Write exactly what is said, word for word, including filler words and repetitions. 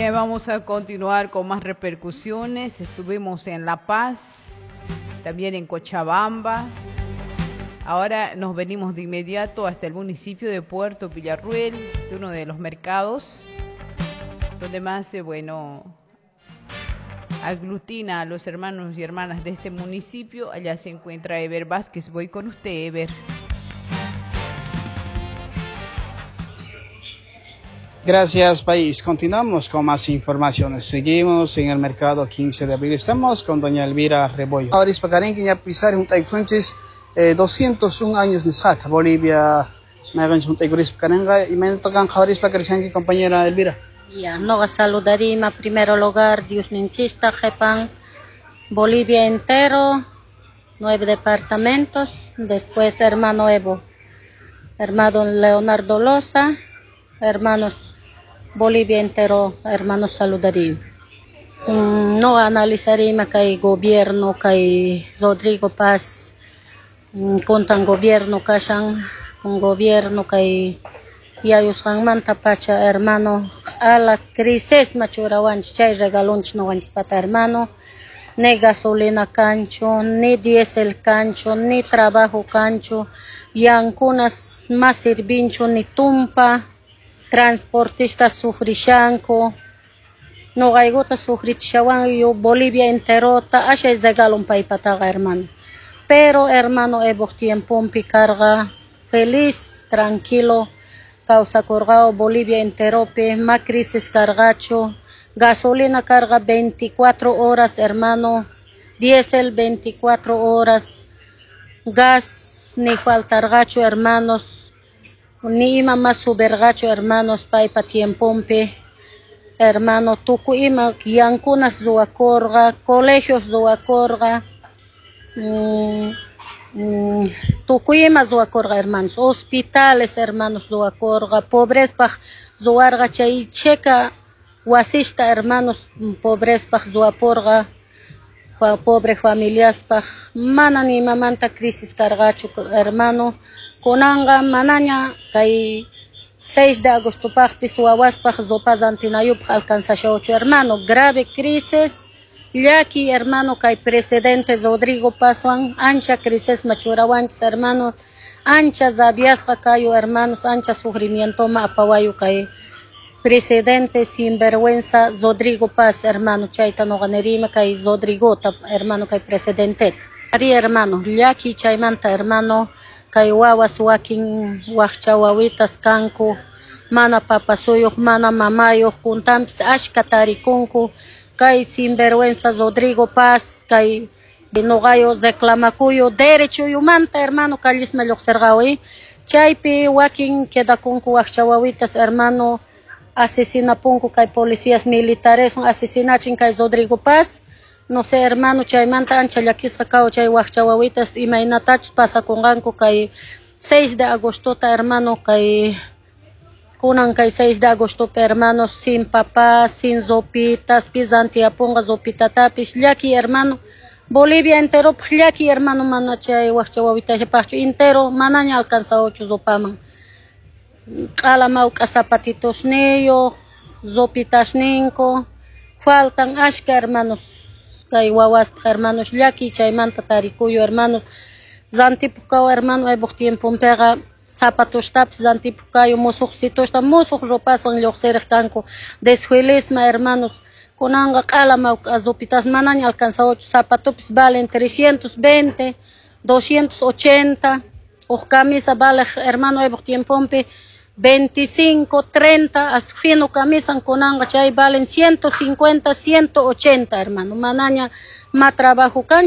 Bien, vamos a continuar con más repercusiones. Estuvimos en La Paz, también en Cochabamba. Ahora nos venimos de inmediato hasta el municipio de Puerto Villarruel, de uno de los mercados donde más, eh, bueno, aglutina a los hermanos y hermanas de este municipio. Allá se encuentra Ever Vázquez. Voy con usted, Ever. Gracias, país. Continuamos con más informaciones. Seguimos en el mercado quince de abril. Estamos con doña Elvira Rebollo. Ahora es para pisar un Fuentes, eh, doscientos un años de Saca, Bolivia. Me hagan un y me tocan compañera Elvira. Ya, no saludaría primero lugar, Dios ninchista, jepan, Bolivia entero, nueve departamentos, después hermano Evo, hermano Leonardo Loza, hermanos Bolivia entero, hermanos saludaría. Mm, no analizaría que hay gobierno, que hay Rodrigo Paz, mm, contan gobierno, que con gobierno, que hay yayusqanmanta pacha, hermano, a la crisis machurawanchis chay regalonchis noqanchis pata, hermano, ni gasolina cancho, ni diésel cancho, ni trabajo cancho, yankunas más sirvincho, ni tumpa, transportistas sufrishanku, noqaykota sufrichishawan yo Bolivia enterota, ashay regalon paypataqa, hermano. Pero, hermano, Evo tiempompi carga feliz, tranquilo, causa corgao Bolivia enterope, ma crisis cargacho, gasolina carga veinticuatro horas, hermano, diésel veinticuatro horas, gas ni faltargacho, hermanos, ni ima más subergacho, hermanos, paipa tiempompe, hermano, tuku ima yankunas zuacorga, colegios zuacorga, mm, Mm, tukuyima zuacorga, hermanos, hospitales, hermanos, zuacorga, pobrespaj zuarga chay checa wasista, hermanos, pobrespaj zuaporga, pobre familiaspaj, mana ni mamanta crisis cargacho, hermano, konanga manaña kay seis de agosto pajpis wawaspaj zopazantinayupaj alcanzashaocho, hermano, grave crisis. Llaki, hermano, kay presidente Rodrigo Pazwan, ancha crisis machurawanchis, hermano, ancha zabiasqa kayu, hermanos, ancha sufrimiento ma apawayu kay presidente sinvergüenza Rodrigo Paz, hermano, chayta noqanerima kay Rodrigota, hermano, kay presidente. Ari, hermano, llaki chaymanta, hermano, kay wawas wakin waqcha wawitas kanku, mana papasuyuq, mana mamayuq, kuntampis ashka tarikunku, kay sinvergüenza Rodrigo Paz, kay noqayo reclamakuyo derecho yumanta, hermano, kallisma lluqsirqawi, chaypi wakin quedakunku waqcha wawitas, hermano, asesinapunku kay policías militares, asesinachin kay Rodrigo Paz, no sé, hermano, chaymanta ancha llakisqa kaw chay waqcha wawitas imaynatachus pasakunqanku kay seis de agostota, hermano, kay kunan kay seis de agosto, hermanos, sin papá, sin zopitas, pisantiapunga zopitatapis, llaki, hermano, Bolivia entero, llaki, hermano, mana chay waqcha wawitashapaqchu, entero, manaña alcanzaochu zopaman. Q'ala mawk'a zapatitos niyuq, zopitas ninko, faltan ashka, hermanos, kay wawaspaq, hermanos, llaki chaymanta tarikuyu, hermanos, rantipuq kaw, hermano, aybuq tiemponpiqa zapatostapis rantipuq kayu, musuqsitusta, musuq ropaswan lluqsiriq kanku, desfilisma, hermanos, kunanqa q'ala mawk'a zopitas manaña alcanzaochu, zapatopis valen trescientos veinte, doscientos ochenta, uj camisa vale, hermano, aybuq tiemponpi veinticinco, treinta, as fino camisan kunanqa chay valen ciento cincuenta, ciento ochenta, hermano, manaña ma trabajo kan.